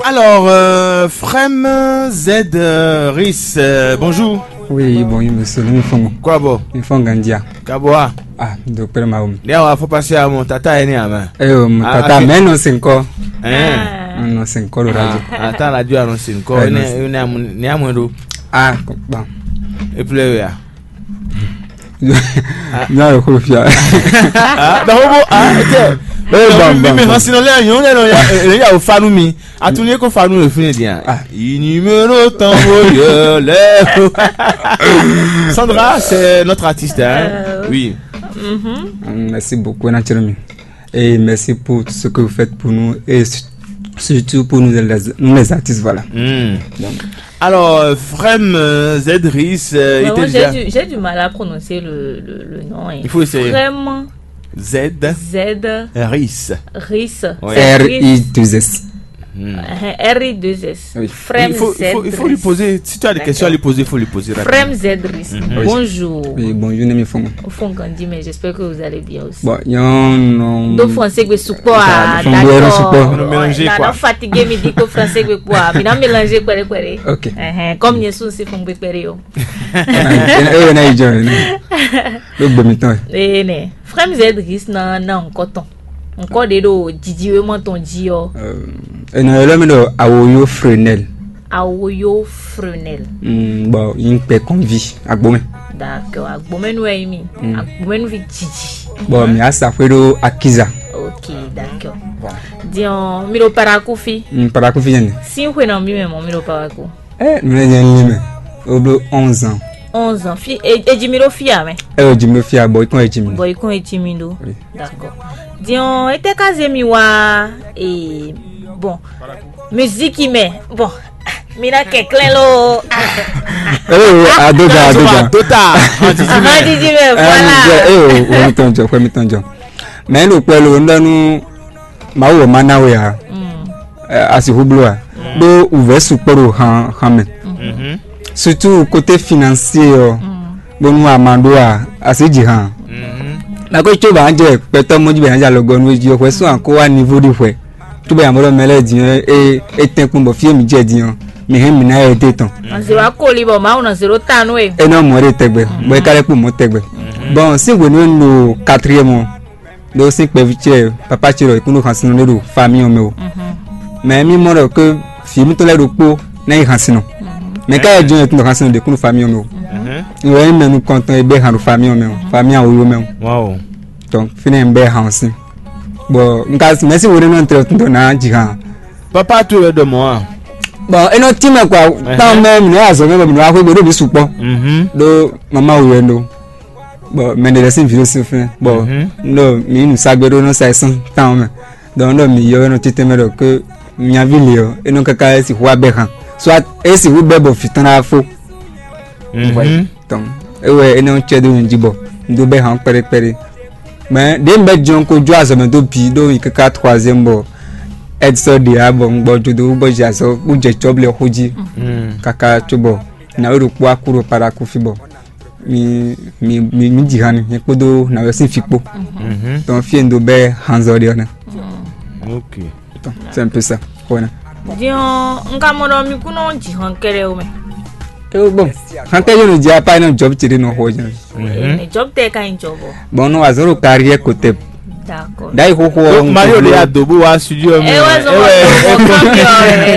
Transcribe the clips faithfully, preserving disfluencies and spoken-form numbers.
Alors, euh, Frem Z euh, Ris, euh, bonjour. Oui, bonjour, monsieur. Nous font. Quoi, bon? Nous font Gandia. Kaboa. Ah, docteur Mahoum. Dia wa faut passer à mon tata, ene ama. Eh, oh, mon Ah, tata, ok. Mais non, c'est encore. Hein? Ah, non, c'est encore le radio. Ah, attends, la radio annonce encore. Ouais, Ne non, c'est ne ne amu ne amu do. Ah, bon. Et puis là. Non, le coup, fier. Ah, donc bon, ah, ok. Eh, bon, bon, bon. Hã sinɔ lɛ nyɔnu lɛ nɔ ya lɛ ya o fanu mi. Atunye ko fanu le fini dia. Ah. Inimero tango yele. Sandra, c'est notre artiste, hein? Euh, Oui. Mhm. Merci beaucoup, naturellement. Et merci pour tout ce que vous faites pour nous et su- surtout pour nous les, nous les artistes, voilà. Hmm. Donc. Alors, euh, Frem euh, Zedris, euh, Vraiment, était j'ai déjà du, j'ai du mal à prononcer le, le, le nom, hein. Il faut essayer. Frem Z. Z Ris. Ris. Ouais. C'est R I deux S. Hmm. Euh, R I deux S. Oui. Frem Il faut, il faut, il faut lui Z Ris. Poser. Si tu as des D'accord. Questions à lui poser, il faut lui poser rapidement. Frem Zedris. Mhm. Oui. Bonjour. Oui, bonjour, Nemi Fongo. Au fond, Gandhi, mais j'espère que vous allez bien aussi. Bon, non, non. Do français que support, Enfin, ah, faut bien d'accord. Support. On ne mélange Ouais, pas. Non, non, fatigué, mais dit que français que quoi. Mais non, mélanger quoi, quoi. Ok. Uh-huh. Comme Yesu, c'est fond de période. Eh, eh, na ijo, eh, na. Ló gbé mi tán. Eh, ne. Frem Zedris na na nukɔ tɔn. Nukɔ ɖe ɖo jijiwe mɔ tɔn ji ɔ. Eh, ena yɔlɔ mi ɖo awoyo Frenel. Awoyo Frenel. Mm, bon, yin pɛ kɔnvi agbome. D'accord, agbome nu ɛyi mi. Mm. Agbome nu vi jiji. Bon, mi asa fwe ɖo Akiza. Ok, d'accord. Voilà. Dion, mi ɖo Parakou fi. Mm, Parakou fi yɛn. Si xwe na mi mɛ mɔ mi ɖo Parakou. Eh, mɛ nyɛ li mɛ. O bló onze ans. Onze ans. Fi, e, e ji mi ɖo fia mɛ. Eh, o ji mi ɖo fia, bɔ ikɔn e ji mi. Bɔ ikɔn e ji mi ɖo. Oui. D'accord. Dion, ete ka ze mi wa, e, bon. Musique mɛ. Bon. Mi na kɛklɛ lo. Eh, o, adoga, adoga. Tota. Ahandi ji mɛ, voilà. Eh, o, o mi tɔn jɔ, o mi tɔn jɔ. Mɛ lo kpɛ lo, n ɖɔ nu Mawu wɛ ma ná we ǎ. Mm. Eh, a sixú bló ǎ. Mm. Ɖó wǔvɛ́ sukpɔ́ ɖo han han mɛ. Mhm. Surtout côté financier ɔ́, mm, bónú a ma ɖó a, a sì ji han. Mhm. Nako tso bǎ jɛ kpɛtɔ́ mɔ́ jí bɛ ná jɛ alɔgɔ́ nú jí ɔ́, hwɛ sún àkó wá niveau ɖi hwɛ. Tó bɛ yǎmɔ́ ɖɔ mɛ lɛ́ɛ din ɔ́, é é tɛ́nkpɔ́n bɔ fí e mǐ jɛ din ɔ́, mǐ hɛn mǐ ná yɛ dé tɔn. Nɔ zě wá koli bɔ Mawu nɔ zě ɖó ta nú we. É nɔ mɔ ɖe tɛgbɛ, bɔ é ka lɛ́ kpó mɔ tɛgbɛ. Mhm. Bon, sín hwenu e un ɖo quatrième ɔ́, ɖó sín kpɛví ce papa ce ɖɔ è kún ɖo xasin ɖé ɖo famille ɔ́ mɛ o. Mhm. Mais mì mɔ ɖɔ ke vǐ mǐtɔn lɛ́ɛ ɖokpó ná nyí xasin nɔ. Mhm. Mais ká yɛ jɔn yɛ tún ɖo xasin ɖě kún ɖo famille ɔ́ mɛ o. Mhm. Ìwé yín mɛ nukɔntɔn e bɛ hàn ɖo famille ɔ́ mɛ o, famille awoyo mɛ o. Wow. Donc fínɛ́ ń bɛ hàn ɔ́ sín. Bon, un ka mɛ̌si wo ɖé nɔ tɛ tún dɔ ná jǐ hàn. Papa towe wɛ ɖɔ mɔ̌ a? Bon, é nɔ tínmɛ quoi. Tán mɛ mǐ nɔ azɔ mɛ bɔ mǐ nɔ wá xwé gbe ɖó mǐ sukpɔ́. Mhm. Ɖó mama wɛ ɖó. Bon, mɛ ɖe lɛ́ sín vǐ ɖo sín fɛ́n. Bon, mhm, un ɖo mǐ nǔ sa gbe ɖó nɔ sa ɛ sɔ́n tán mɛ. Donc un ɖo mǐ yɔ nɔ títɛn mɛ ɖɔ ke mía ví lě ɔ́, é nɔ káká é sixú wá bɛ́ han. Soit é sixú bɛ́ bɔ vǐ tɔn ná fó. Mhm. Donc é wɛ é nɔ cɛ dó nyi jí bɔ un dó bɛ́ han kpɛɖé kpɛɖé. Mais ɖě un bɛ jɔn ko jó azɔ̌ mɛ dó bǐ ɖó yi káká troisième bɔ Edson ɖe ǎ bɔ un gbɔ jó dó bɔ jɛ azɔ̌ bó jɛ cɔ́blɛ xó jí. Mhm. Káká cóbɔ nǎwe ɖokpó wá kú ɖo Parakou fí bɔ mi mi mi mi ji han mi kpódó nǎwe sín fí kpó. Mhm. Donc fí e un dó bɛ́ hanzɔ ɖe ɔ́ nɛ. Ok. Donc c'est un peu ça. Xɔna. Diɔn, nka mɔ ɖɔ mi kún nɔ ji han kɛɖɛ o mɛ. Ewo bon, han kɛ yóò nɔ dzi apa nɔ jɔb tsi ɖe nɔ xɔ jɛ. Mhm. Ene jɔb tɛ ka nyi jɔb o. Bon, nɔ azɔn ɖo carrière côté. D'accord. D'ailleurs xoxo. Mayo de adobo wa studio mi. Ewe zɔn wa dobo kɔmi ɔ.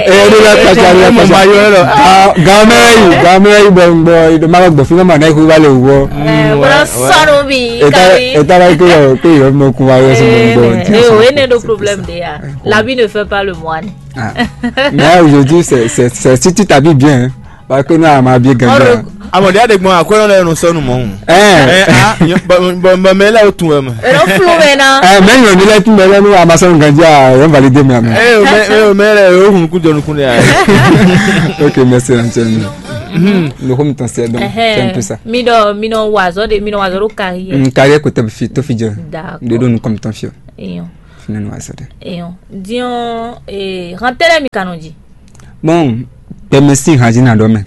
Eh, de la kpacha, de la kpacha. Mayo lɔ. Ah, gamɛ yi, gamɛ yi bɔ bɔ ido ma gbɔ fi ma na ihu ba le wo. Eh, bro sɔnu bi. Eta eta la ko yo ko yo mo ku wa yo so mo gbɔ. Eh, oh, ene do problème de ya. L'habit ne fait pas le moine. Ah. Mais aujourd'hui c'est c'est c'est si tu t'habilles bien, hein. Parce que nous on m'a bien gagné. Amɔ̀dé àdégbɔn àkọ́yọ́ lẹ́nu sọ́nù mọ́. Ẹ ẹ ah bọ̀mọ̀ mẹ́lẹ̀ ó tún ẹ mọ̀. Èrò fúlù mẹ́ náà. Ẹ mẹ́yìn òní lẹ́tún mẹ́lẹ́ ní Amazon ganjá ẹ̀ ń validé mi àmì. Ẹ ò mẹ́ ẹ ò mẹ́lẹ̀ ẹ ò hùn kú jọnu kúnlẹ̀ ayé. Ok, merci Antoine. Nous comme ton c'est donc c'est un peu ça. Mi dɔ mi nɔ wazɔ de mi nɔ wazɔ do carrière. Mm, carrière côté fi to fi jẹ. D'accord. De do nous comme ton fier. Eyan. Fina no wazɔ de. Eyan. Dion eh rantɛlɛ mi kanɔ ji. Bon, kpɛmɛ sín hǎn jí nǎ ɖɔ mɛ.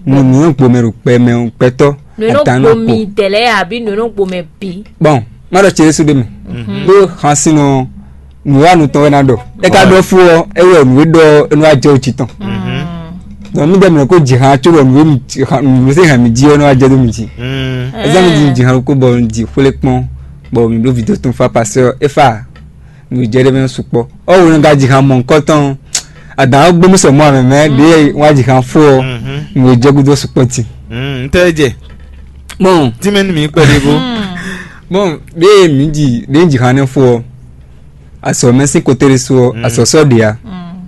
Nú nǔ e gbomɛ ɖo kpɛ mɛ ɔ́, gbɛtɔ́ nǔ e nɔ atán ná gbo kpo. Mi tɛlɛ abi nǔ e nɔ gbo mɛ bǐ. Bon, má ɖɔ ce ɖésú ɖé mɛ. Mhm. Ɖó xasin ɔ́, nǔ e wa nu tɔn wɛ ná ɖɔ. É ka ɖɔ fó ɔ́, é wɛ nǔ e ɖɔ ɔ́, é nɔ wá jɛ wú jǐ tɔn. Donc mí ɖɔ mǐ nɔ ko ji han có ɖɔ nǔ e mǐ ji han, nǔ e hɛn mǐ jí ɔ́ nɔ wá jɛ dó mǐ jí. Ezan mi ji mi ji han ko bɔ un ji xwlé kpɔn, bɔ mǐ ɖó vǐdó tɔn fa pasé ɔ́, é fa nǔ jɛ ɖé mɛ sukpɔ́. Ɔ́ wo nɔ ka ji han mɔ̌hunkɔtɔn, adǎn ɔ́ gbé mì sɔ mɔ amɛ mɛ ɖě wá ji han fó ɔ́, nǔ e jɛ gúdo sukpɔ́ din. N tɛ jɛ. Bon, Tí mɛ nú mi kpɛɖé bó. Bon, ɖě mǐ ji ɖě ji han nɛ́ fó ɔ́, azɔ̌ mɛ sín kote ɖé su ɔ́, azɔ̌ sɔ́ ɖě ǎ.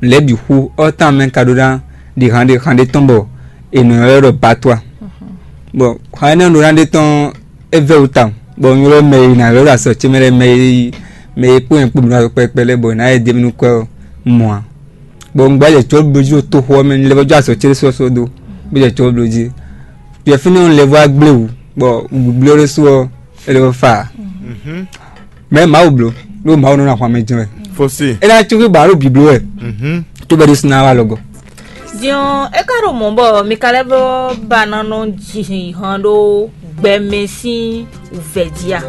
Lɛ̌ bǐ xú ɔ́ tán mɛ ka ɖó ná ɖi han ɖé han ɖé tɔn bɔ è nɔ ylɔ́ ɖɔ batwa. Bon, han énɛ́ ɖó ná ɖé tɔn é vɛ́ wú tawun, bɔ un ylɔ́ mɛ e ná ylɔ́ ɖo azɔ̌ ce mɛ lɛ́ɛ, mɛ e mɛ e kpó nyɛ kpó mǐ ɖo azɔ̌ kpɛɖɛkpɛ lɛ́ɛ bɔ è nǎ yɛ dó mì nú kwɛ́ ɔ́ mɔ ǎ. Bɔ un gbɔ́ jɛ cɔ́ bló jí ɖo toxo ɔ́ mɛ, un lɛ́ vɔ́ jó azɔ̌ ce ɖésú ɔ́ sɔ́ dó, bó jɛ cɔ́ bló jí. Yɛ fínɛ́ ɔ́, un lɛ́ vɔ́ wá gblé wǔ, bɔ un gblé ɔ́ ɖésú ɔ́, é lɛ́ vɔ́ fa ǎ. Mɛ̌ Mawu bló, ɖó Mawu nɔ ná ahwan mɛ jɛ́n wɛ. Fosi. É ná cúxú ba ɖo bǐbló wɛ, cóbɔ é ɖésú ná wá lɔgɔ. Din ɔ́, é ka ɖo mɔ̌ bɔ mi ka lɛ́ vɔ́ ba ná nɔ ji han ɖó gbɛmɛ sín wǔvɛ́ jí a?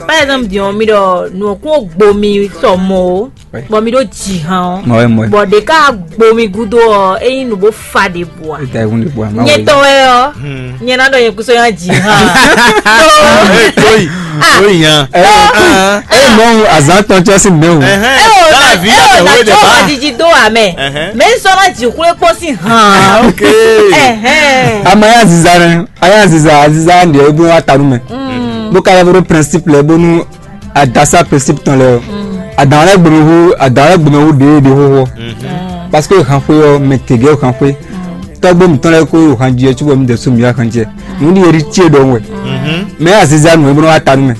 Par exemple, din ɔ́, mi ɖɔ nǔ ɔ́ kún gbo mi sɔ mɔ̌ ó, bɔ mi ɖó ji han ɔ́, bɔ ɖě ka gbo mi gúdo ɔ́, é nyí nǔ bó fa ɖěbǔ a? Nyɛ tɔn wɛ ɔ́, nyɛ ná ɖɔ nyɛ kúsɔ nya ji han. Tóyi, tóyi yan. Eye mɔ azǎn tɔn cɔ sín mɛ o. Eye o na eye o na tɔ ha jiji dó wa mɛ. Mɛ n sɔ na ji xwlé kpɔ́n sín han. Ama ya ziza nɛ, aya ziza, aziza ɖe e bó wa ta nú mɛ. Bó ka yɛ bó ɖó principe lɛ bónú adasa principe tɔn lɛ ɔ, adan lɛ gbɛmɛ hu adan lɛ gbɛmɛ hu ɖe ɖe xɔxɔ. Parce que han xwe ɔ, mɛ tege han xwe. Tɔgbo mǐtɔn lɛ́ɛ ko han jɛ cóbɔ mǐ dɛ̌ sú mǐ wá han jɛ. Nǔ ɖi eɖi ce ɖɔhun wɛ. Mɛ aziza nǔ e bó nɔ wá ta nú mɛ.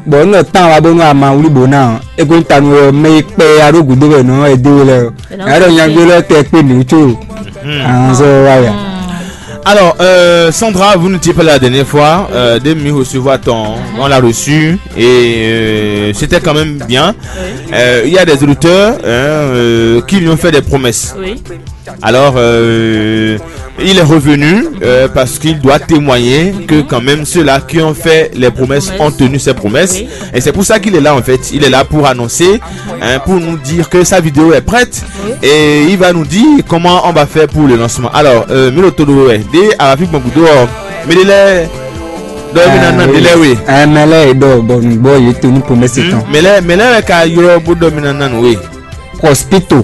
Bɔ nú ɔ tán wa bónú ama wlí bǒ ná ɔ́, é ko nyí ta nú ɔ́, mɛ e kpɛ ya ɖó gǔdo wɛ nɔ ɛ dé we lɛ ɔ. Nya ɖɔ nyagbé lɛ tɛ kpé nǔ có. Anzɔ wa ya. Alors, euh, Sandra, vous n'étiez pas là la dernière fois. Euh, dès que nous recevons ton, on l'a reçu et euh, c'était quand même bien. Euh, il y a des auditeurs hein, euh, qui lui ont fait des promesses. Alors, euh, il est revenu euh, parce qu'il doit témoigner que quand même ceux-là qui ont fait les promesses ont tenu ces promesses. Et c'est pour ça qu'il est là en fait. Il est là pour annoncer, hein, pour nous dire que sa vidéo est prête. Et il va nous dire comment on va faire pour le lancement. Alors, euh, Milo Todo, ouais, dès à la fibre Gudo, mais il est dans le oui. Mɛ lɛ e ɖɔ bɔ nǔgbɔ yě to ní promesse tɔn. Mɛ lɛ mɛ lɛ ka ylɔ bó ɖɔ mi nana nù we. Prospito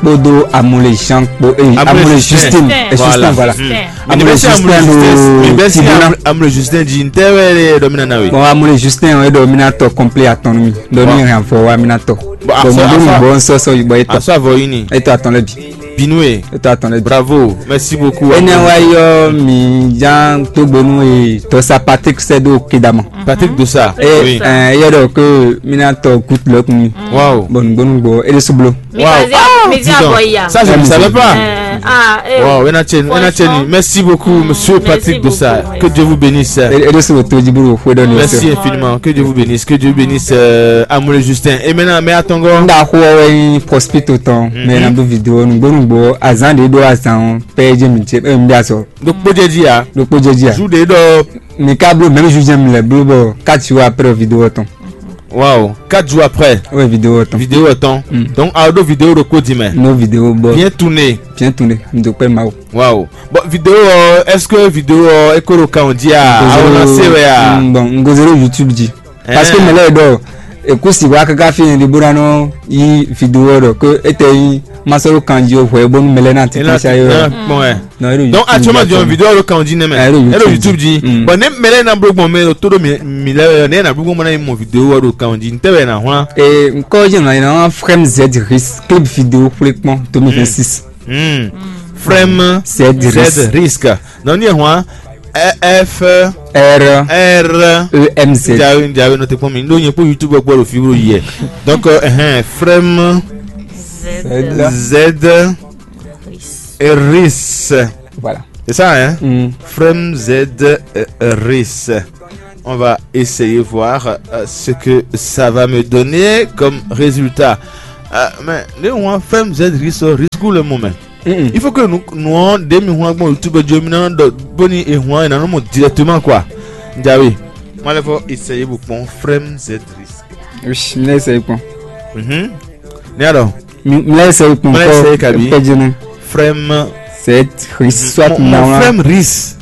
kpódó amúlé jean kpó eye amúlé justine. Justine voilà. Amúlé justine ló tibúná. Amúlé justin di ntɛ wɛ lɛ ɖɔ mi nana we. Bon, amúlé justin ɔ́ é ɖɔ mí ná tɔ kɔnplé atɔn nú mi, ɖɔ ní hɛn avɔ wá mí ná tɔ. Bon, mi ɖó mi gbɔ nsɔsɔ yibɔ etɔ. Asɔ avɔ yi ni. Etɔ atɔn lɛ bi. Binue. Etɔ atɔn lɛ bi. Bravo, merci beaucoup. Énɛ́ wá yɔ mi já tógbónú e tɔsa Patrick sɛ ɖo kedama. Patrick Dosa. E oui. Ɛ yɛ ɖɔ ke mi ná tɔ goutte lɔkun mi. Waouh. Bon, gbónú gbɔ e ɖe sublo. Wow. Ah, dis donc, ça je ne savais pas. Wow, merci beaucoup, monsieur Patrick Dosa. Que Dieu vous bénisse. E ɖe sublo to dzi bolo xwe ɖɔ ni. Merci infiniment. Que Dieu vous bénisse. Que Dieu bénisse euh, Amoulé Justin. Et maintenant, mais attends. Nda xɔ wɛ nyi prospect tɔn, mais na do vidéo nugbo nugbo azan de do azan pɛ je mi je mi bi azɔ. Donc pour dire dia. Donc pour dire dia. Jour de do. Mi ka blo même jour je mi le blo bo quatre jours après vidéo tɔn. Waouh, quatre jours après. Oui, vidéo tɔn. Vidéo tɔn. Donc a do vidéo do ko di mais. No vidéo bo. Bien tourné. Bien tourné. Mi do pɛ mawo. Waouh. Bon, vidéo euh, est-ce que vidéo euh, ekolo kan dia. A on a se ya. Bon, ngozero YouTube di. Parce que mɛ lɛ ɖɔ ekusi wa kaka fi ni bó ná nɔ yí vidéo ɖɔ ke ete yí masɔrɔ kanji o hwɛ bónú mɛ lɛ ná ti kpɔn sa yɔ. Donc actuellement di vidéo ɖo kanji nɛ mɛ. Ɛɖo YouTube di. Bon ne mɛ lɛ na blo gbɔn mɛ to ɖo mi lɛ ne na blo gbɔn na yi mɔ vidéo ɖo kanji n tɛ wɛ na hwan. Nkɔ jɛ na yina frem z ris clip vidéo kple kpɔn deux mille vingt-six. Frem z ris. Donc ni hwan F R R E M Z. Njawe njawe nɔ te kpɔn mi ndo nye kpɔ YouTube kpɔ ɖo fi wo yɛ. Donc euh, hein, frem z ris. Voilà. C'est ça hein. Frem z ris. On va essayer voir euh, ce que ça va me donner comme résultat. Euh, mais ne on frem z ris risque le moment. Il faut que nous nous on demi hwan bon YouTube jo mi na do boni e hwan na mo directement quoi. Njawe. Malefo essayer bu pon frem z ris. Oui, mi na essayer pon. Mhm. Ni alors. Mlɛ sɛ kpɔn. Mlɛ sɛ kabi. Pɛjɛnɛ. Frère m. C'est Christ soit mon, mon frère Ris.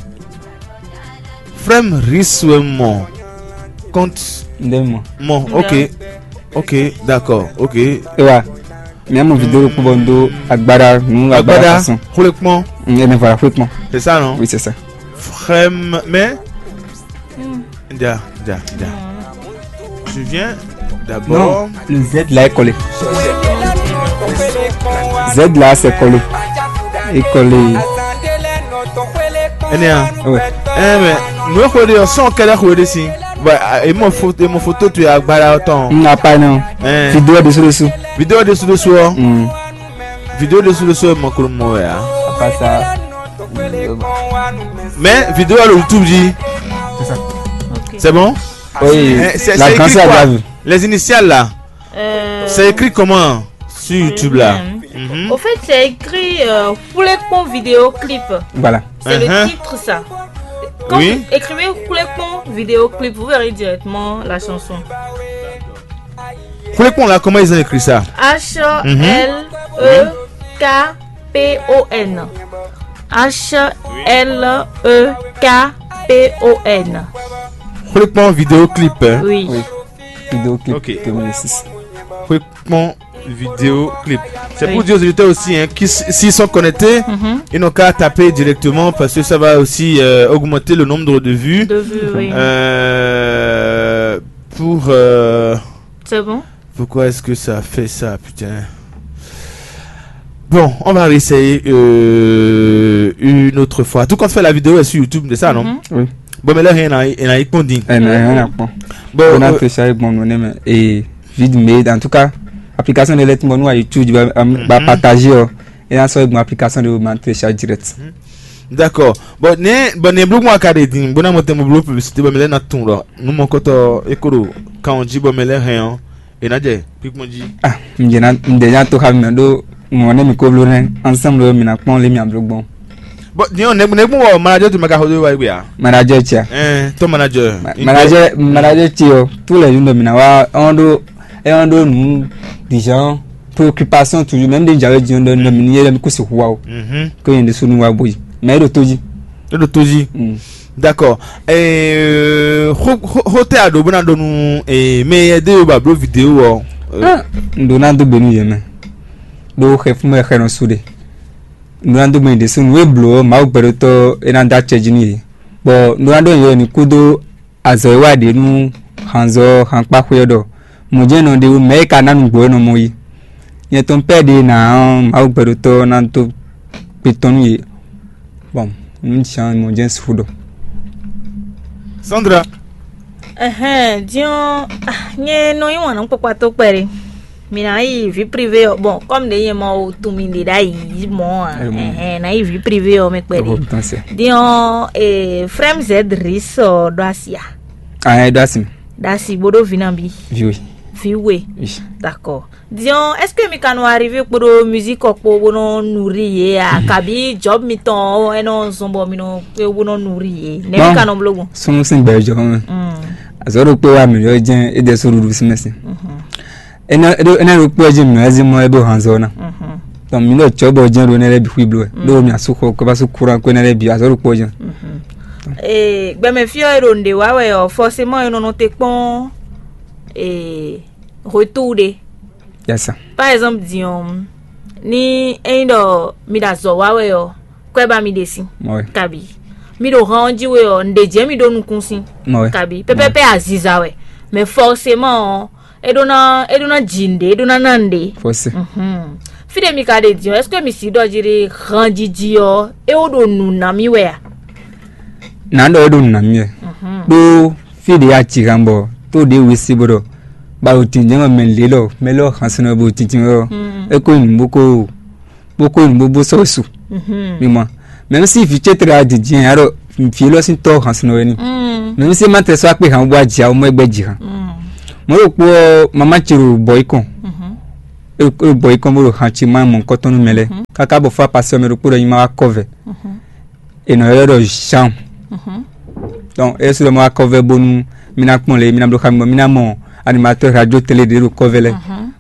Frère Ris ouais mon. Compte. Ndé mɔ. Mon, ok. Ok, d'accord, ok. Ewa. Mɛ mo vidéo ɖokpó bɔ n ɖó agbára nú agbára façon. Xwlekpɔn. Ɛnɛ voilà, xwlekpɔn. C'est ça, non? Oui, c'est ça. Frère m, mais. Ja, ja, ja. Tu viens d'abord. Non, le Z là est collé. Z là, c'est collé. Et collé. Ɛnɛ a. Ouais. Ɛn mɛ, nǔ e xwe ɖe ɔ́, sɔ́n kɛ́ɖɛ́ xwe ɖe sín. Bɔ e mɔ foto, e mɔ foto towe agbára ɔ́ tɔn. N apa nɔ. Ɛn. Vidéo ɖésú ɖésú. Vidéo ɖésú ɖésú ɔ́. Mm. Vidéo ɖésú ɖésú ɔ́, e mɔ klo mɔ wɛ a. Apa sa. Mais vidéo à YouTube dit. C'est ça. Ok. C'est bon? Oui. Eh, c'est, la c'est grande écrit sœur quoi? David. Les initiales là. Euh, c'est écrit comment sur YouTube là? Mhm. Au fait, c'est écrit euh, Foulekpon vidéo clip. Voilà. C'est le titre, ça. Quand vous écrivez Foulekpon vidéo clip, vous verrez directement la chanson. Foulekpon là, comment ils ont écrit ça? H L E K P O N. H L E K P O N. Foulekpon vidéo clip, hein? Oui. Oui. Vidéo clip. Ok. Deux mille six. Foulekpon vidéo clip. C'est pour dire aux auditeurs aussi, hein, qui, s'ils sont connectés, ils n'ont qu'à taper directement parce que ça va aussi euh, augmenter le nombre de vues. De vues, oui. Euh, pour. Euh, c'est bon. Pourquoi est-ce que ça fait ça, putain? Bon, on va réessayer euh, une autre fois. Tout compte fait, la vidéo est sur YouTube, c'est ça, non? Oui. Bon, mais là, rien n'a rien à répondre. Ɛ nɔ yɛn na kpɔn. Bon, bó ná euh, te sa gbɔn nɔ nɛ mɛ. Ee, vide mais en tout cas, application de lettre mɔnu à YouTube ba ba partager ɔ. Et en soit bon application de ma télécharge direct. D'accord. Bon, ne bon ne blog moi carré din. Bon, na mo te mo blog publicité, bon, mais là na ton là. Nous mon koto écolo quand on dit bon, mais là rien. E ná jɛ kpíkpɔ́n jí. Ah, un jɛ ná un jɛ ná to xa mɛ ɖó ŋɔ ne mi ko bló nɛ ensemble mi ná kpɔn lé mi abló gbɔn. Bon, ni on ne ne gbɔn wɔ manager tu maka hodo wa igbe a. Manager tia. Eh, to manager. Manager manager ti o. Tous les jours mi na wa on do e on do nu dijan préoccupation toujours même des jawe di on do mi ni yele mi kusi huwa o. Mhm. Ko yende sunu wa boyi. Mais do toji. Do toji. Mm. D'accord. Ɛɛ xo xo xo tɛ a ɖo bó ná ɖo nú ɛɛ mɛ yɛ de yo ba bló video ɔ. Ah, un ɖó ná dó gbe nú yě mɛ ɖó xɛ fún mɛ xɛ nɔ su ɖe. Un ɖó ná dó gbe nyi ɖésú nǔ e blǒ ɔ́ Mawu gbɛɖótɔ́ é ná dó acɛ jí nú yě. Bɔ un ɖó ná ɖó nyǐyɔ nyi kúdó azɔ̌ e wa ɖě nú hanzɔ́ hankpáxwé ɔ́ ɖɔ mɔ̌ jɛ́n nɔ ɖe wú mɛ̌ e ka ná nǔgbó ɔ́ nɔ mɔ yi. Nyɛ tɔn pɛ́ ɖě ná ɔ́ Mawu gbɛɖótɔ́ ɔ́ ná dó gbe tɔn nú yě. Bɔn nú Jean mɔ jɛ́n sixú ɖɔ. Sandra. Ɛhɛn, diɔn, ah, nyɛ nɔ yí wǎn nú kpakpató kpɛɖé. Mi ná yi vi privé ɔ, bɔn kɔmi ɖe nyɛ mɔ o tun mi ɖe ɖa yi mɔ a. Ɛhɛn, ná yi vi privé ɔ mɛ kpɛɖé. Diɔn, eh, frère z ris ɔ ɖo asi a. Ah, ɛ ɖo asi mi. Ɖo asi bó ɖó vi na bi. Viwe. Viwe. D'accord. Diɔn, est-ce que mi ka nɔ arrivé kpódó musique ɔ kpó bó nɔ nourrir yě a kabi job mitɔn ɔ é nɔ zɔn bɔ mi nɔ kpé bó nɔ nourrir yě nɛ mi ka nɔ bló gbɔn. Súnnu sín gbɛ jɔ mɛ. Azɔ ɖo kpé wa mi yɔ jɛn é dɛ so ɖuɖu sí mɛ sí. Énɛ́ ɖo kpé jɛn mi yɔ zí mɔ é bó han zɔ ná. Donc mi ɖɔ cɔ bɔ jɛn ɖo énɛ́ lɛ bi xwí bló wɛ ɖo mi asú xɔ kɔ bá sú kúrán kó énɛ́ lɛ bi azɔ ɖo kpé jɛn. Ee gbɛmɛ fí ɔ é ɖo nǔɖé wa wɛ ɔ forcément é nɔ nɔ te kpɔn ee retour ɖé. Yasa. Par exemple din ɔ́ ni ényí ɖɔ mi ɖo azɔ̌ wa wɛ ɔ́ kwɛ ba mi ɖe sin. Kabi mi ɖo han ɔ́ jí we ɔ́ nǔɖé jɛ́n mi ɖó nukún sín. Kabi pɛpɛpɛ aziza wɛ mais forcément ɔ́ é ɖó ná é ɖó ná ji nǔɖé é ɖó ná ná nǔɖé. Fɔsi. Fí ɖé mi ka ɖe din ɔ́ est-ce que mi si ɖɔ jí ɖe han jiji ɔ́ é wó ɖo nǔ ná mì wɛ a? Nǎ ɖɔ é ɖo nǔ ná mì wɛ. Ɖó fí ɖě a ci han bɔ tó ɖě we sí bó ɖɔ ba ɖo tǐnjɛ́n wɛ mɛ lě lɔ mɛ lɔ xansinɔ bo tíntín wɛ ɔ́ é ko nyi nǔ bó ko bó ko nǔ bó bó sɔ́ wɛ su. Mi mɔ mɛ̌ sí vǐ cétre a dǐndín ɛ aɖɔ vǐ élɔ́ sín tɔ́ xansinɔ wɛ ni. Mɛ̌ sí ma tɛ sɔ́ akpé han bó wá jǐ awo mɔ é gbɛ́ jǐ han. Mɔ̌ ɖokpó ɔ́ mamá ce ɖo bɔ̌ yi kɔn é ɖo bɔ̌ yi kɔn bó ɖo han ce má mɔ nukɔntɔn nú mɛ lɛ́ɛ káká bɔ fá pasɛ mɛ ɖokpó ɖɔ nyi má wá kɔ vɛ. È nɔ ylɔ́ ɖɔ Jean. Donc é su ɖɔ ma wá kɔvɛ bónú mí ná kpɔ́n lě mí ná bló xá mi bɔ mí ná mɔ animatɔ́ radio télé ɖě ɖo kɔvɛ lɛ́ɛ.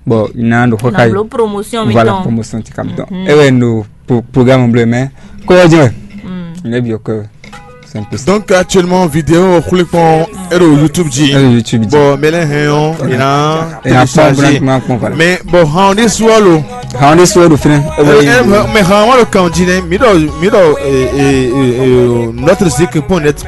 Bon, il y en a de quoi. Promotion, voilà, promotion, tu comme donc. Et ouais, nous, programme bleu, mais quoi, je ne vais bien que c'est un peu ça. Donc, actuellement, vidéo, xwlé kpɔn, ero YouTube ji. Ero YouTube ji. Bon, mais là, hein, on, il a téléchargé. Mais bon, on est sur l'eau. On est sur l'eau, frère. Mais on le camp dit, mais, mais, notre zik point net,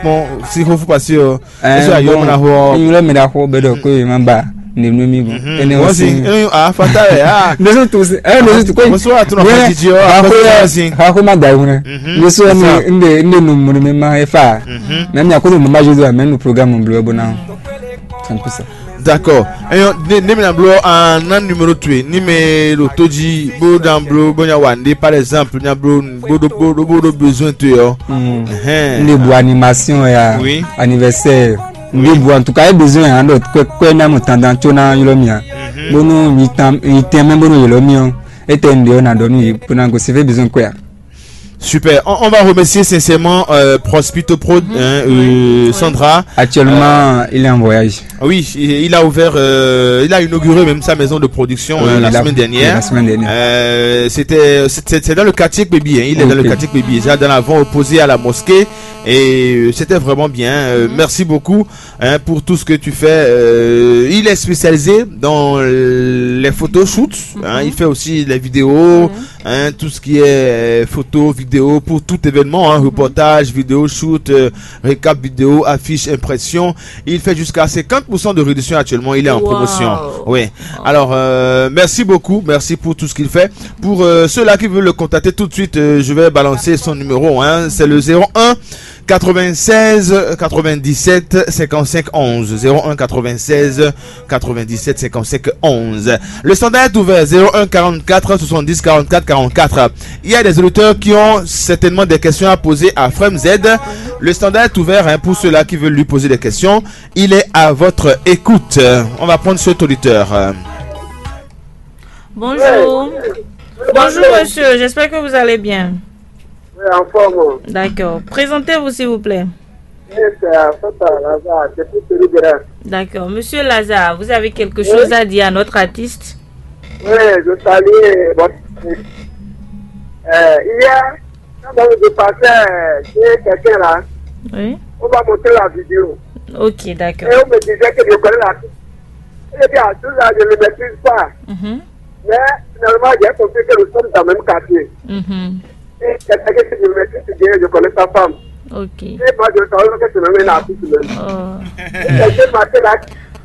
si vous passez, Ɛɛ, bɔn, nyɔlɔ mi ɖaxó bɛ ɖɔ ko yě ma ba nínú mi bɔ. Ɛnɛ wọ́n sì ń afata rẹ̀ á. Ndésù tó sí ɛ ndésù tó kó yìí. Mo sọ àtúnọ̀ fún jíjí ọ. Àkó yà sí. Àkó má da ìwúrẹ́. Ndésù ẹ ní ndé ndé nu mú mi má ẹ fà. Mẹ mi àkó nu mú má Jésus mẹ nu programme bló ẹ bó ná. C'est un peu ça. D'accord. Eyɔn ne ne mi na bló an na numéro tu ni mɛ ɖo tó jí bó na bló bó nya wà ndé par exemple nya bló bó ɖó bó ɖó bó ɖó besoin tu yɔ. Ndé bu animation ya. Oui. Anniversaire. Ndé bu en tout cas e besoin ya ɖo kwe kwe na mo tandan tso na yɔrɔ mi ya. Bonu yi tan yi tɛn mɛ bonu yɔrɔ mi ɔ. E tɛ ndé ɔ na dɔ nu yi bó na go se fait besoin kwe ya. Super. On, on va remercier sincèrement euh, Prospito Prod, hein, euh, Sandra. Actuellement, euh, il est en voyage. Oui, il a ouvert, euh, il a inauguré même sa maison de production. Oui, euh, la semaine dernière. La semaine dernière. Euh, c'était, c'est dans le quartier Kbebi, hein. Il est dans le quartier Kbebi, déjà dans l'avant opposé à la mosquée. Et euh, c'était vraiment bien. Euh, merci beaucoup, hein, pour tout ce que tu fais. Euh, il est spécialisé dans les photoshoots, hein, il fait aussi les vidéos, hein, tout ce qui est euh, photo, vidéo pour tout événement, hein, reportage, vidéo, shoot, euh, récap vidéo, affiche, impression. Il fait jusqu'à cinquante pour cent de réduction actuellement. Il est en promotion. Oui. Alors, euh, merci beaucoup. Merci pour tout ce qu'il fait. Pour euh, ceux-là qui veulent le contacter tout de suite, euh, je vais balancer son numéro, hein. C'est le zéro un quatre-vingt-seize quatre-vingt-dix-sept cinquante-cinq onze. Zéro un quatre-vingt-seize quatre-vingt-dix-sept cinquante-cinq onze. Le standard est ouvert, zéro un quarante-quatre soixante-dix quarante-quatre quarante-quatre. Il y a des auditeurs qui ont certainement des questions à poser à Frem Z. Le standard est ouvert, hein, pour ceux-là qui veulent lui poser des questions. Il est à votre écoute. On va prendre cet auditeur. Bonjour. Bonjour, monsieur, j'espère que vous allez bien. Oui, en forme. D'accord. Présentez-vous, s'il vous plaît. Oui, c'est Fata Lazare, depuis Péruguera. D'accord. Monsieur Lazare, vous avez quelque chose à dire à notre artiste ? Oui, je salue votre... Euh, hier, quand on est passé chez quelqu'un là, oui, on va montrer la vidéo. Ok, d'accord. Et on me disait que je connais l'artiste. Et bien, tout ça, je ne le maîtrise pas. Mhm. Mais finalement, j'ai compris que nous sommes dans le même quartier. Mhm. Et quelqu'un que je maîtrise bien, je connais sa femme. Ok. Et moi, je savais que c'est même un artiste même. Oh. Et c'est ce matin-là,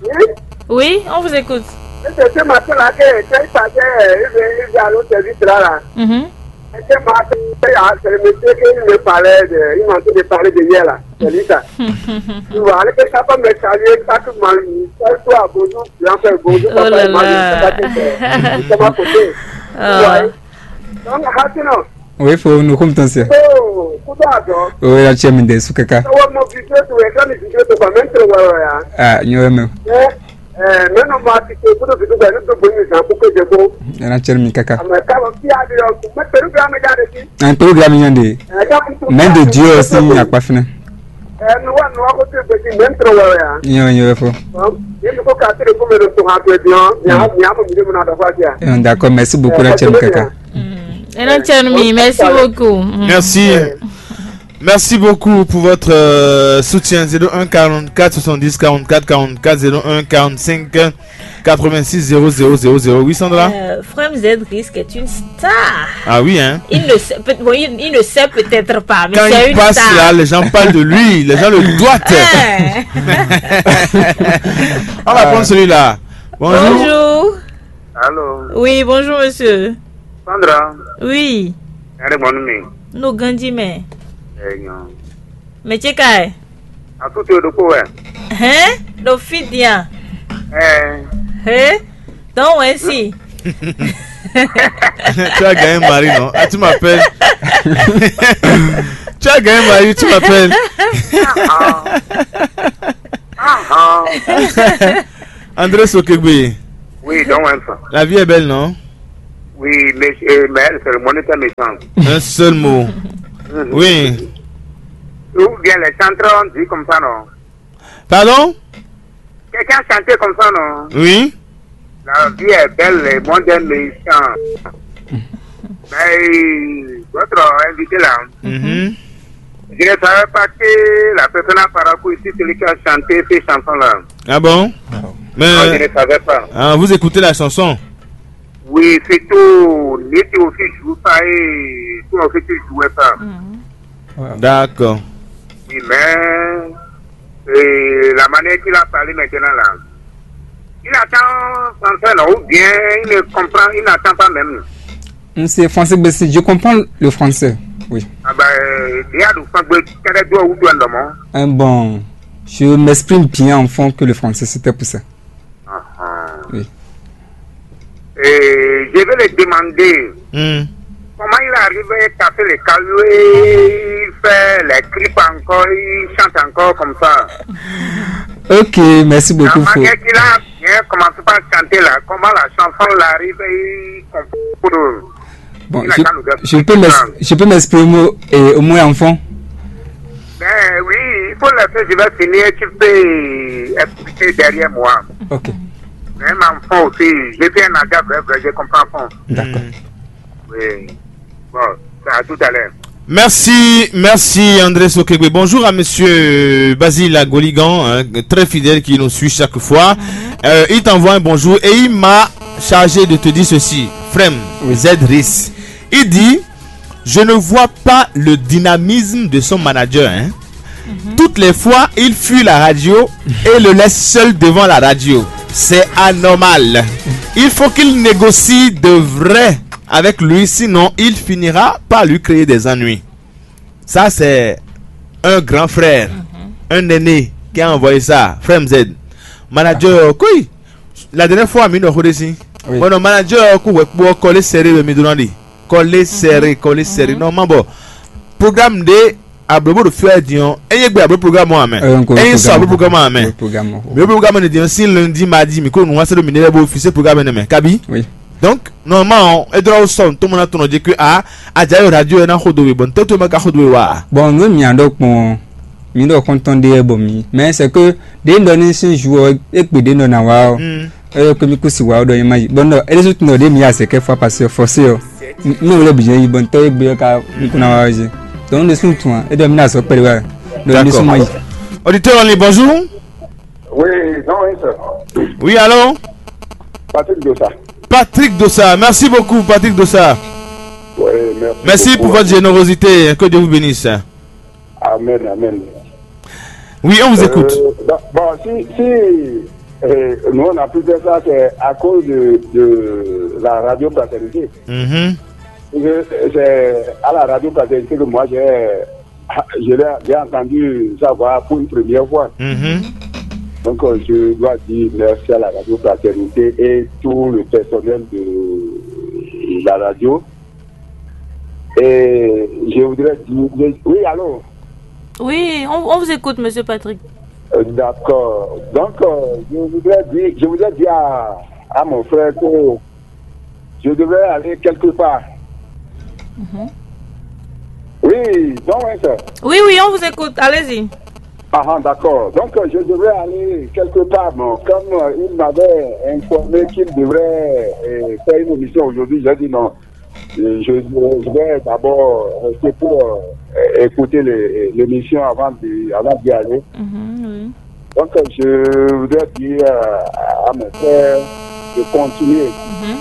oui ? Oui, on vous écoute. Et c'est ce matin-là que quand il passait, il vient, il vient à l'autre service là, là. Mhm. Et ce matin, c'est le monsieur qui me parlait de, il m'a dit de parler de hier là. C'est lui ça. Tu vois, avec sa femme me saluer, ça tout mal. Ça, toi, bonjour, tu as fait bonjour, oh papa, là là. Comment côté. Ah. Ouais. Donc, maintenant, oui, faut nous compter ça. Oh, pourquoi donc ? Oui, la tienne, des sous caca. Ça va, mon vidéo, tu es quand les vidéos, tu vas même te voir, hein. Ah, il y a même. Eh, eh, mais non, moi, tu sais, pour le vidéo, ben, nous, pour nous, hein, pour que je go. Il y a la tienne, mi caca. Ah, mais ça va, qui a dit, donc, mais Péruguera, mais il y a des filles. Un programme, il y a des. Eh, quand vous... Même de Dieu aussi, il n'y a pas fini. Eh, nous, on va côté petit, même trop, ouais, ouais, hein. Yo, yo, fo. Bon, il faut casser le premier de son rappel, bien, bien, bien, mon milieu, mon adresse, bien. Eh, d'accord, merci beaucoup, eh, la tienne, caca. Mm. Et la tienne, mi, merci beaucoup. Mm. Merci. Ouais. Merci beaucoup pour votre euh, soutien. Zéro un quarante-quatre soixante-dix quarante-quatre quarante-quatre, zéro un quarante-cinq quatre-vingt-six zéro zéro zéro zéro. Oui, Sandra ? Euh, Frem Z risque est une star. Ah oui, hein ? Il ne sait, peut- bon, il, il ne sait peut-être pas, mais quand c'est il une passe star. Là, les gens parlent de lui, les gens le doigtent. Eh. On va prendre celui-là. Bonjour. Bonjour. Allô ? Oui, bonjour, monsieur. Sandra ? Oui. Allez, bon, nous. Nous grandissons. Eh, non. Mɛ ce ka ɛ? Asu to ɖokpó wɛ. Hɛn? Ɖo fí din a? Ɛɛ. He? Dɔn wɛ si. Tu as gagné mari, non? Ah, tu m'appelles. Tu as gagné mari, tu m'appelles. André Sokegbe. Oui, donc, ouais, ça. La vie est belle, non? Oui, mais, euh, mais c'est le moniteur méchant. Un seul mot. Mhm. Oui. Ou bien les chanteurs ont dit comme ça, non? Pardon? Quelqu'un a chanté comme ça, non? Oui. La vie est belle, le monde est méchant. Mais votre invité là, Mhm. je ne savais pas que la personne à Parakou ici, celui qui a chanté ces chansons-là. Ah bon? Non, je Mais ne savais pas. Ah, vous écoutez la chanson? Oui, c'est tout. Ni tu aussi joue pas et toi aussi tu jouais pas. D'accord. Oui, mais et la manière qu'il a parlé maintenant là, il attend français non, ou bien il ne comprend, il n'attend pas même. Monsieur Français Bessie, je comprends le français. Oui. Ah ben, il y a du français, quel est droit ou toi non? Hein, bon, je m'exprime bien en fond que le français, c'était pour ça. Ah, ah. Oui. Et je vais le demander Hmm. comment il arrive à casser les cailloux, il fait les clips encore, il chante encore comme ça. Ok, merci La beaucoup. Fo. Manière qu'il a bien commencé par chanter là, comment la chanson l'arrive et il comprend. Bon, Il a je, qu'à nous dire je peux m'ex- je peux m'exprimer au, et au moins en fond. Ben oui, il faut laisser, je vais finir, tu peux expliquer derrière moi. Ok. Même en fond aussi, je suis un agent vrai, vrai, je comprends en fond. D'accord. Oui. Bon, à tout à l'heure. Merci, merci André Sokegbe. Bonjour à monsieur Basile Agoligan, hein, très fidèle qui nous suit chaque fois. Euh, il t'envoie un bonjour et il m'a chargé de te dire ceci. Frem, Oui. Z R I S. Il dit, je ne vois pas le dynamisme de son manager. Hein. Toutes les fois, il fuit la radio et le laisse seul devant la radio. C'est anormal. Il faut qu'il négocie de vrai avec lui, sinon il finira par lui créer des ennuis. Ça, c'est un grand frère, un aîné qui a envoyé ça. Frère M Z, manager, quoi? La dernière fois, mi nɔ xo ɖe si. Oui. Bon, non, manager, ko wɛ kpɔ kɔlé serré, mi donnant dit. Kɔlé serré, kɔlé serré. Non, man, bon. Programme de ablobo de faire, dion. Et il y a ablo programme, moi, mais. Euh, encore Et il le sort le programme. Programme, moi, mais. Le programme. Mais le programme, on est si lundi, mardi, mais qu'on nous a le minéral, bon, fils, programme, mais. Kabi? Oui. Donc, normalement, et droit au son, tout le monde a tourné, dit que, ah, a déjà eu radio, et n'a rodé, bon, tout le monde a rodé, wa. Bon, nous, mi a donc, bon, mi donc content de bon, mi. Mais c'est que, dès dans une jour, et puis dès dans la, Hmm. euh, que mi kusi wa dans image. Bon, non, et les autres, non, des mi a c'est que fois parce que forcé, oh. Non, le budget, bon, t'as bien qu'à, qu'on a, donc, nous sommes tout, hein. Et donc, nous sommes pas là. Donc, nous D'accord. sommes là. Auditeur en ligne, bonjour. Oui, non, oui, ça. Oui, allô? Patrick Dossa. Patrick Dossa, merci beaucoup, Patrick Dossa. Oui, merci. Merci Beaucoup. Pour votre générosité, que Dieu vous bénisse. Amen, amen. Oui, on vous écoute. Euh, bon, bon, si, si euh, nous on a pu faire ça, c'est à cause de, de la radio Fraternité. Mhm. Je- C'est à la radio Fraternité que moi j'ai, je l'ai j'ai entendu savoir pour une première fois. Mhm. Donc euh, je dois dire merci à la radio Fraternité et tout le personnel de la radio. Et je voudrais dire, oui, allô? Oui, on, on vous écoute, monsieur Patrick. Euh, D'accord. Donc, euh, je voudrais dire, je voudrais dire à, à mon frère que je devrais aller quelque part. Oui, donc, ouais, ça. Oui, oui, on vous écoute. Allez-y. Ah, ah, d'accord. Donc, euh, je devrais aller quelque part. Bon, comme euh, il m'avait informé qu'il devrait euh, faire une émission aujourd'hui, j'ai dit non. Euh, Je, je vais d'abord rester pour euh, écouter les- l'émission avant d'y avant d'y aller. Mhm, oui. Donc, euh, je voudrais dire euh, à mon frère de continuer. Mhm.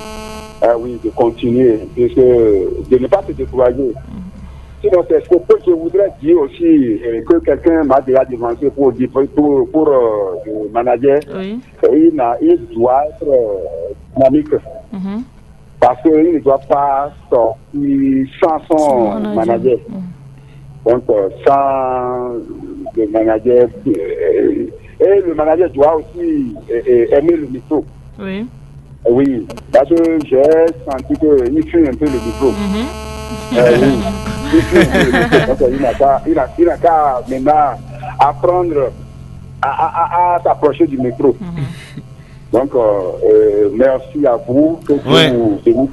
Ah oui, de continuer. Et que- de ne pas se décourager. Sinon, c'est ce que je voudrais dire aussi, euh, que quelqu'un m'a déjà devancé pour, dire- pour, pour euh, le manager. Oui. Il, n'a- il doit être euh, dynamique. Mhm. Parce qu'il ne doit pas sortir sans son Son manager. manager. Donc, euh, sans le manager. Euh, et le manager doit aussi euh, euh, aimer le micro. Oui. Oui, parce que j'ai senti qu'il fuit un peu le micro. Mhm. Euh, oui. Il fuit un peu le micro. Donc, il n'a qu'à il a- il n'a qu'à maintenant apprendre à, à- à- à s'approcher du micro. Donc, euh, euh, merci à vous. Que Dieu Ouais. vous bénisse.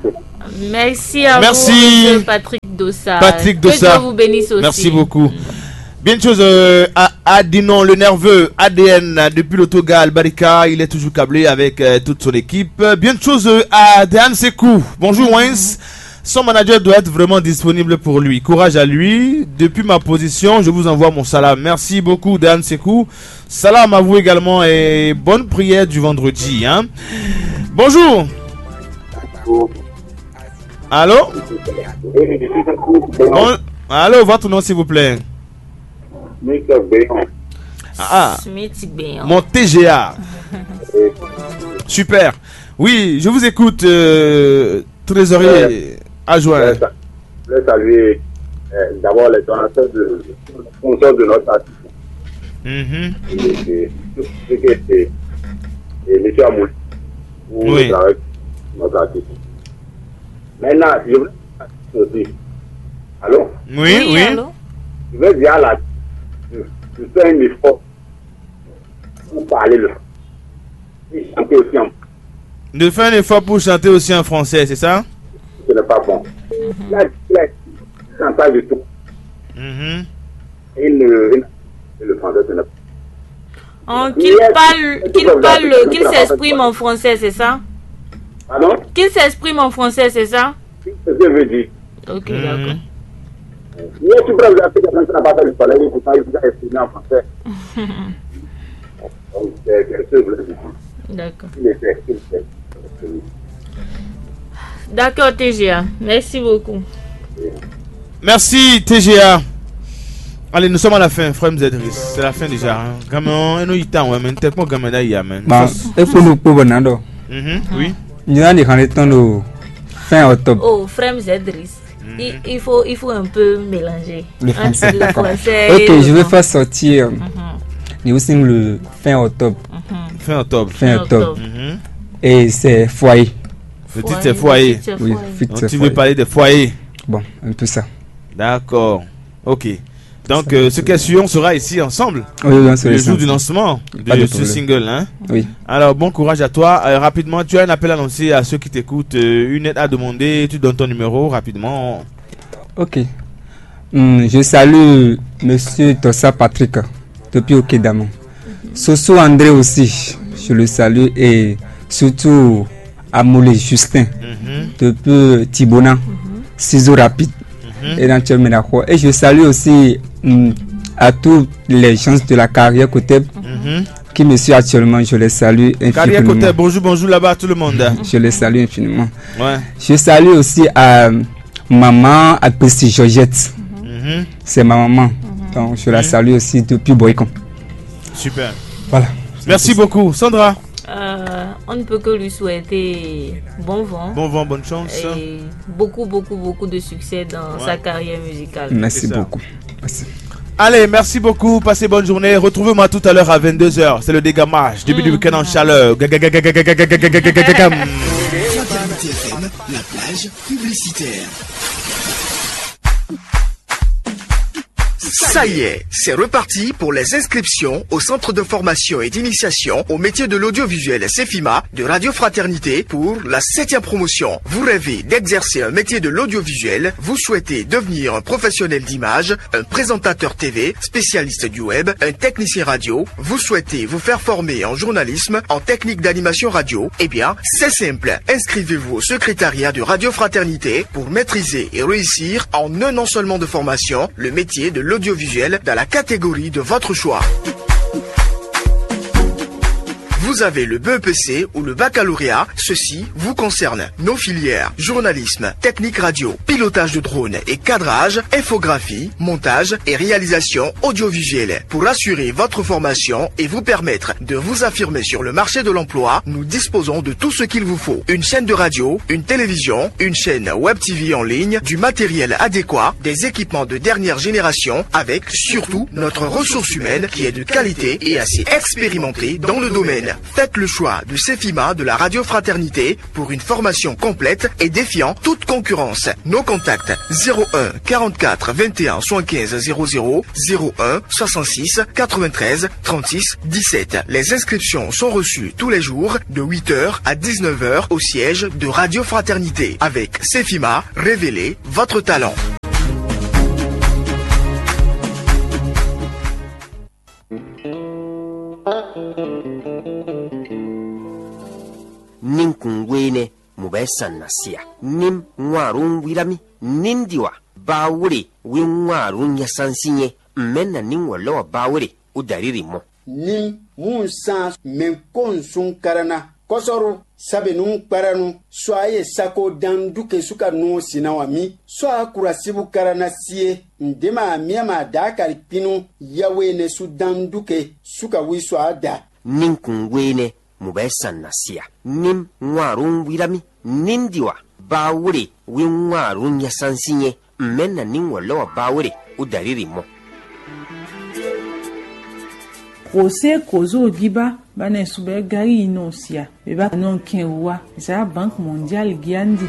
Merci à Merci. vous, monsieur Patrick Dossa. Patrick Que Dossa. Dieu vous bénisse aussi. Merci beaucoup. Bien de choses euh, à Adinon, le nerveux A D N euh, depuis l'autogar Albarika, il est toujours câblé avec euh, toute son équipe. Bien de choses euh, à Dehan Sekou. Bonjour Wins. Son manager doit être vraiment disponible pour lui. Courage à lui. Depuis ma position, je vous envoie mon salam. Merci beaucoup Dehan Sekou. Salam à vous également et bonne prière du vendredi, hein. Bonjour. Allô? Bon, allô, votre nom s'il vous plaît. Mister Béon. Ah, ah. Smith Béon. Mon T G A. Super. Oui, je vous écoute, euh, trésorier adjoint. Je voulais saluer euh, d'abord les donateurs de sponsors de notre artiste. Mhm. Et, et, et, et, et monsieur Amoul, pour Oui. le travail de notre artiste. Maintenant, je voulais aussi. Allô? Oui, oui. Allô? Je vais dire à la. Je, je fais un effort pour parler le. Et chanter aussi en. De faire un effort pour chanter aussi en français, c'est ça? Ce n'est pas bon. La, la, chantage de tout. Mhm. Et le, et le français, ce n'est pas. Oh, qu'il parle, qu'il parle, qu'il s'exprime en français, c'est ça? Pardon? Qu'il s'exprime en français, c'est ça? C'est ce que je veux dire. Ok, Mhm. d'accord. Mais tu peux regarder que ça n'a pas fait le soleil, il faut pas il faut exprimer en français. Donc, c'est c'est ce que je voulais dire. D'accord. Il était, il était. D'accord, T G A. Merci beaucoup. Merci T G A. Allez, nous sommes à la fin, frère Mzedris. C'est la fin déjà. Hein. Gamin, nous y temps, ouais, mais t'es pas gamin d'ailleurs, man. Bah, et pour nous, pour Bernardo. Mhm, Oui. Nous avons des grands temps de fin octobre. Oh, frère Zedris. Il, il faut, il faut un peu mélanger Le entre français. le français Ok, et le je vais français. faire sortir Mhm. New Single fin octobre. Mhm. Fin octobre. Fin Fin octobre. octobre. Mhm. Et c'est Foyer. Le titre c'est Foyer. Le titre c'est Oui, Foyer. Fit Donc c'est tu veux Foyer. parler de Foyer. Bon, un peu ça. D'accord. Ok. Donc euh, ce qui est sûr, on sera ici ensemble Oui, oui, on sera le ici jour du ensemble. lancement Pas de de ce problème. single. Hein. Oui. Alors bon courage à toi. Euh, rapidement, tu as un appel à lancer à ceux qui t'écoutent, euh, une aide à demander, tu donnes ton numéro rapidement. Ok. Hmm, je salue Monsieur Tossa Patrick depuis Okedamon. Soso André aussi, je le salue et surtout Amoulé Justin Mhm. depuis Tibona, Ciseaux Rapide Mhm. et dans Tchèque Ménachor. Et je salue aussi hmm, à tous les gens de la carrière Koteb Mhm. qui me suivent actuellement, je les salue Carrière infiniment. Côté, bonjour, bonjour là-bas à tout le monde. Je les salue infiniment. Ouais. Je salue aussi à maman Agbesti Georgette. Mhm. C'est ma maman. Donc je la Mhm. salue aussi depuis Boycon. Super. Voilà. Merci beaucoup. Sandra, Euh, on ne peut que lui souhaiter bon vent bon vent, bonne chance. et beaucoup, beaucoup, beaucoup de succès dans Ouais. sa carrière musicale. Merci C'est ça. beaucoup. Merci. Allez, merci beaucoup. Passez bonne journée. Retrouvez-moi tout à l'heure à vingt-deux heures. C'est le dégamage. Début du Mm. week-end en chaleur. Ga, ga, ga, ga, ga, ga, ga, ga, ga, ga, ga, ga, ga, ga. Fraternité F M, la plage publicitaire. Ça y est, c'est reparti pour les inscriptions au Centre de formation et d'initiation au métier de l'audiovisuel Cefima de Radio Fraternité pour la septième promotion. Vous rêvez d'exercer un métier de l'audiovisuel, vous souhaitez devenir un professionnel d'image, un présentateur T V, spécialiste du web, un technicien radio, vous souhaitez vous faire former en journalisme, en technique d'animation radio, eh bien, c'est simple. Inscrivez-vous au secrétariat de Radio Fraternité pour maîtriser et réussir en un an seulement de formation le métier de l'audiovisuel dans la catégorie de votre choix. Vous avez le B E P C ou le baccalauréat, ceci vous concerne. Nos filières, journalisme, technique radio, pilotage de drone et cadrage, infographie, montage et réalisation audiovisuelle. Pour assurer votre formation et vous permettre de vous affirmer sur le marché de l'emploi, nous disposons de tout ce qu'il vous faut. Une chaîne de radio, une télévision, une chaîne web T V en ligne, du matériel adéquat, des équipements de dernière génération, avec surtout notre ressource humaine qui est de qualité et assez expérimentée dans le domaine. Faites le choix de Cefima de la Radio Fraternité pour une formation complète et défiant toute concurrence. Nos contacts: zéro un quarante-quatre vingt et un soixante-quinze zéro zéro, zéro un soixante-six quatre-vingt-treize trente-six dix-sept. Les inscriptions sont reçues tous les jours de huit heures à dix-neuf heures au siège de Radio Fraternité. Avec Cefima, révélez votre talent. esa na sia. Nim ŋuarun wirami. Nim diwa. Bawure wi ŋuarun nyasansinyɛ. Mmɛ na nim wɔlɔ wa bawure. Udariri mɔ. Nim hun san mɛnkonsun karana kɔsɔru. Sabenu kparanu sɔ aye sako dan duke suka nu sinawa mi. Sɔ akurasibu karana sie. Ndema miama da kari pinu. Yawe ne su dan duke suka wi sɔ ada. Ninkun wene mu bɛ san na sia. Nim ŋuarun wirami. Nim diwa. Bawure wi ŋuarun nyasansinyɛ. Mmɛ na nim wɔlɔ wa bawure. Udariri mɔ. Kose kozo giba bane subɛ gari ino sia. Beba non ken wa za bank mondial giandi.